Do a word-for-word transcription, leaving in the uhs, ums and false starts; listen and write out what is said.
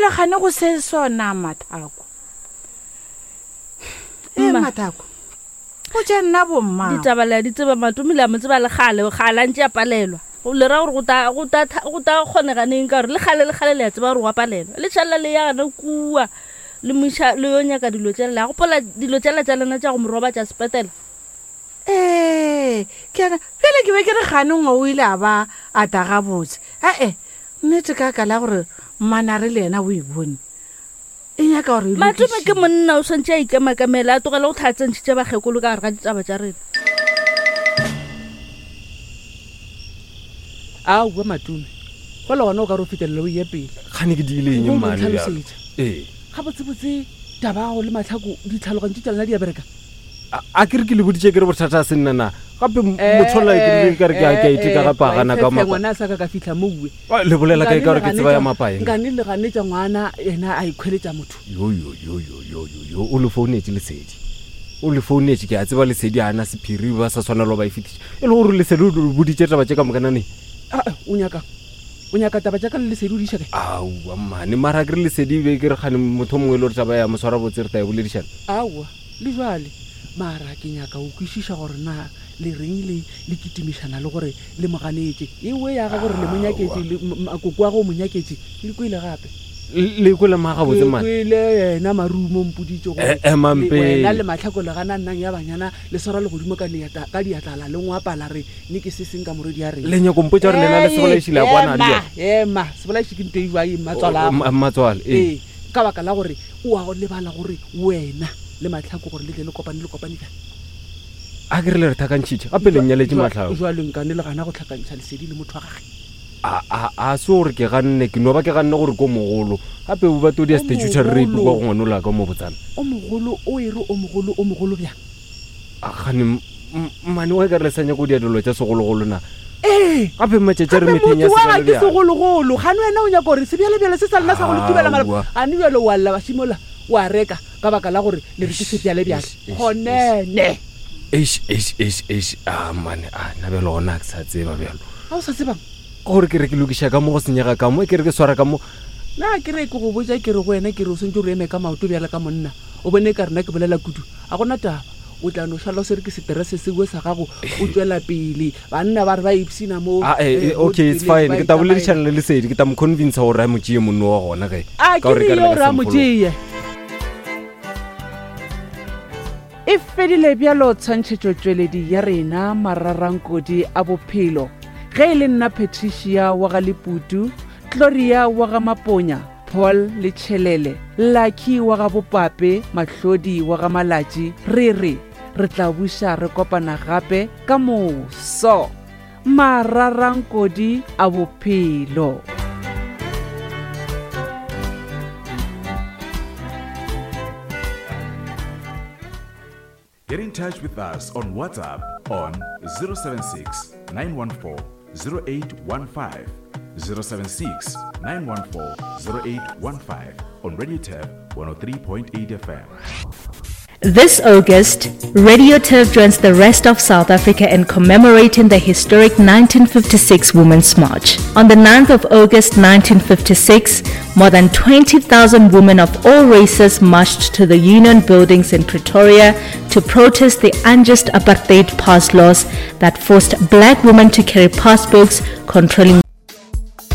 Bjale gane go se sona Mathako. E Mathako. O tša nna bomma. Ditaba le di tseba Matome le a mo tseba le kgale, kgale a ntše a palelwa. Go le ra gore go ta go ta go ta kgoneganeng ka gore le kgale le kgale le a tseba gore wa palelwa. Le tšhalela le ya gana kua le moša le yo nyaka dilo tšela le a gopola dilo tšela tša lena tša go mo robatša sepetela. Ee, ke ana bjale ke be ke re gane ngwe o ile a ba a ta gabotse. Ee, nnete ka ka la gore mmanare le yena o e bone. E nyaka gore e Matome ke monna o swantše a ikemakamela a tlogele go tlhatsentšhitše bakgekolo ka gare ga ditaba tša rena. Aowa Matome, go le gona o ka re o fetelela o ye pele. Kgane ke diile eng mmane bjalo? Ee. Gabotsebotse taba ya gago le Mahlako ditlhaloganyo tša lena di a bereka? A ke re ke le boditše ke re bothata a se nna na? Gape motho la ke rile ka re ke a ke a iteka gape a gana ka mapa. Ngwana a sa ka ka fihla mowe. Le bolela ka e ka gore ke tseba ya mapa eng? Nkane le ganetša ngwana yena a ikhweletša motho. Yo yo yo yo yo yo yo o le founetše Lesedi. O le founetše ke a tseba Lesedi a na sephiri ba sa swanelo ba e fetiša. E le gore Lesedi o boditše taba tše ka moka nane. A o nyaka o nyaka taba tša ka le Lesedi o di iša kae? Aowa mmane mara ke re Lesedi be ke re gane motho mongwe e le gore taba ya moswara botse re tla e boledišana. Aowa le jwale mara ke nyaka o kwešiša gore na le reng le le kitimišana le gore le mo ganetše ewe ya ga gore le mo nyaketše makoko wa go mo nyaketše le kwele gape. Le kwele ma gabotse mane. Le kwele yena Marumo mpoditše gore wena le Mahlako le gana nnang ya banyana le swara legodimo ka ka diatlala le ngwapala re ne ke se seng ka morwedi ya rena. Le nyako mpotša gore lena le sebolaiši le a kwana le. Ema sebolaiši ke nto e jwang mmatswala. Mmatswala ee. Ka baka la gore o a lebala gore wena le Mahlako gore le tle le kopane le kopane bjang. A ke re le re tlhakantšhitše gape le nnyaletše Mahlako. Jwale nkane le gana go tlhakantšha Lesedi le motho wa gage. A a a se gore ke ganne ke no ba ke ganne gore ko mogolo gape o ba todi ya statutory rape kwa go ngwanola ka mo botsana. O mogolo o e re o mogolo o mogolo bjang? A gane mmane wa ka re le sa nyako dia dilo tša segologolo na? Ee. Gape matšatši a re metheng ya sebjalebjale. Ke segologolo gane wena o nyaka gore sebjalebjale se sa lena sa go le thubela malapa. Gane bjale wa lla bašimola wa reka ka baka la gore le re ke sebjalebjale. Gonene. Eish eish eish eish a mane a na bjalo gona ke sa tseba bjalo. A o sa tsebang? Gore ke re ke lokiša ka mo go senyega ka mo ke re ke swara ka mo. Na ke re ke go botša ke re go wena ke re o swantše o eme ka maoto bjale ka monna o bone ka rena ke bolela kudu a gona taba o tla no šala o swere ke seterese seo sa gago o tšwela pele banna ba re ba ipshina mo. Okay it's fine ke tla boledišana le Lesedi ke tla mo convince gore a mo tšee monno wa gona ge. A ke re gore a mo tšee. E fedile bjalo tshwantšhetšo tšweledi ya rena mararankodi a bophelo. Ge e le nna Patricia wa ga Leputu, Gloria wa ga Maponya, Paul le Tšhelele, Lucky wa ga Bopape, Mahlodi wa ga Malatši, re re re tla buša re kopana gape ka moso. Mararankodi a bophelo. Get in touch with us on WhatsApp on zero seven six, nine one four, zero eight one five, zero seven six, nine one four, zero eight one five on Radio Turf one oh three point eight F M. This August, Radio Turf joins the rest of South Africa in commemorating the historic nineteen fifty-six Women's March. On the ninth of August nineteen fifty-six, more than twenty thousand women of all races marched to the Union Buildings in Pretoria to protest the unjust apartheid pass laws that forced black women to carry passbooks controlling